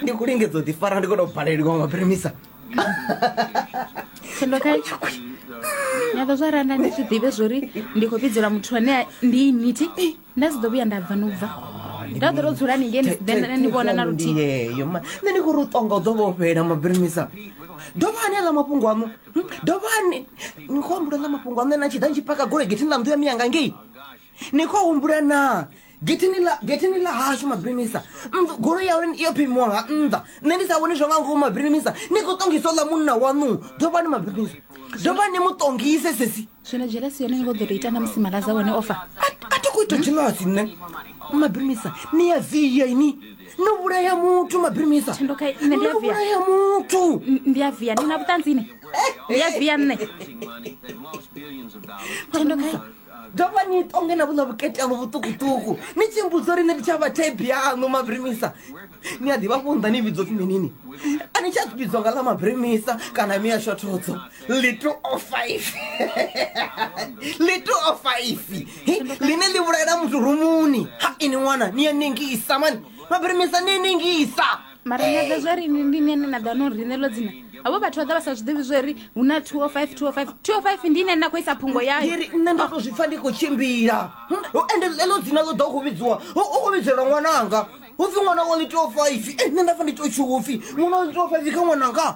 Ndi khou lingedza u ḓifara, ndi khou tou baleliwa, mapirimisa. Thendo kha nyaḓo zwa randa ndi zwi ḓivhe zwori ndi khou vhidzelwa muthu ane ndi inithi nda si ḓo vhuya nda bva no bva, nda ḓo tou dzula ningei ndi si ḓe ni vhona na luthihi. Yeyo ma nṋe ndi khou ri u tonga u ḓo vha o fhela, mapirimisa. Dovhani aḽa mafhungo aṋu. Dovhani ni khou humbula ḽa mafhungo aṋu na tshi ḓa ni tshi paka goloi gethini ḽa nnḓu ya miyanga ngei. Ni khou humbula na gethini ḽa gethini ḽa hashu, mabirimisa, goloi ya hone yo phimiwa nga nnḓa, nṋe ndi sa vhoni zwo nga ngomu. Mabirimisa, ni khou ṱongisa uḽa munna waṋu. Dovhani, mabirimisa, dovhani mu ṱongise sesi. Zwino dzhelasi yone ni khou ḓo tou ita na musi malaza wone o fa? A thi khou ita dzhelasi nṋe, mabirimisa. Ni ya via ini, no vhulaya muthu, mabirimisa. Thendo kha nṋe ndi a No via. vhulaya muthu. Ndi a via, ndi na vhuṱanzi ne ndi a via nṋe, Thendo kha. Dovha ni tonge na vhuḽa vhukete aṋu vhuṱukuṱuku, ni tshi mbudza uri nṋe ndi tsha vha type yaṋu, mabirimisa. Ni a ḓivha fho nnḓa ni vhidzwa pfi minini? A ni tsha vhidzwa nga ḽa mabirimisa kana miya shothodzo li 205, li 205 ḽine ḽi vhulaela muthu rumuni. Ha ini ṅwana, ni ya nengisa mani, mabirimisa, ni nengisa. Mara nyaḓa zwa ri ndi nene na ḓa no riṋe ḽo dzina havho vhathu vha ḓa vha sa zwi ḓivhi zwori hu na 205 205 205 ndi ine na khou isa phungo yayo. Ndi ri nṋe ndo to zwi pfa ndi khou tshimbila. Ende ḽeḽo dzina ḽo ḓa u khou vhidziwa, u khou vhidzelwa ṅwananga, hu pfi ṅwana wa ḽi 205. Nṋe nda pfa ndi to tshuwa, upfi ṅwana wa ḽi 205 kha ṅwananga.